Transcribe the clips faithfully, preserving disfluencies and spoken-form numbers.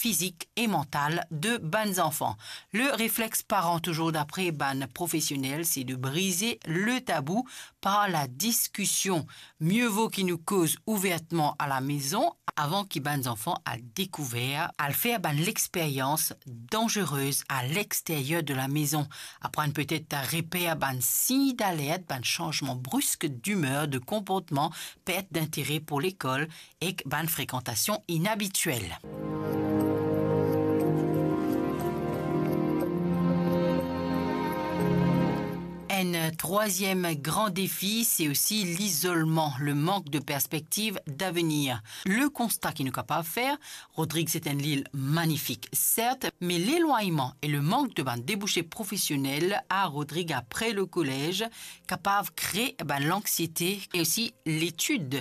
fizik e mantal de bann zanfan. Le reflex paran, touzour dapre bann profesionel, se de brize le tabou par la diskision. Mie vo ki nou koz ouvertman a la mezon avan ki bann zanfan al dekouver, al fer bann lexperyans danzerez a lexteryer de la mezon. Aprann petet reper bann sign dalert, bann sanzman brisk dimer, de konportman, pert dintere pou lekol ek bann frekantasion inabitiel. Enn trwaziem gran defi, se osi lizolman, le mank de perspektiv davenir. Le konsta ki nou kapav fer, Rodrig se enn lil manifik, sert, me lelwagnman e le mank de bann debouse profesionel a Rodrig apre le kolez kapav kre bann lanksiete e osi letid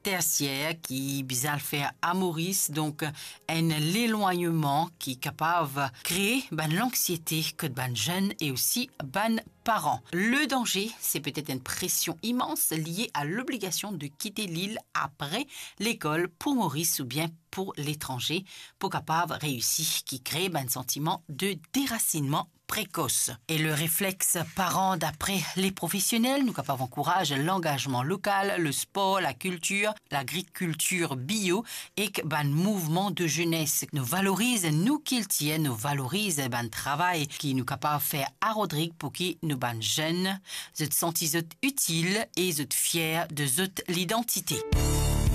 tersier ki bizin al fer a Moris. Donk, enn lelwagnman ki kapav kre bann lanksiete kot bann zenn e osi bann paran. Le danze, se petet enn presion imans lie a lobligasion de kite lil apre lekol pou Moris oubien pou letranze, pou kapav reisi, ki kre bann santiman de derasinnman prekos. E le reflex paran, dapre le profesionel, nou kapav ankouraz langazman lokal, le spor, lakiltir, lagrikiltir bio ek bann mouvman de zenes. Nou valoriz nou kiltir, nou valoriz bann travay ki nou kapav fer a Rodrig pou ki nou bann zenn, zot santi zot itil e zot fier de zot lidantite.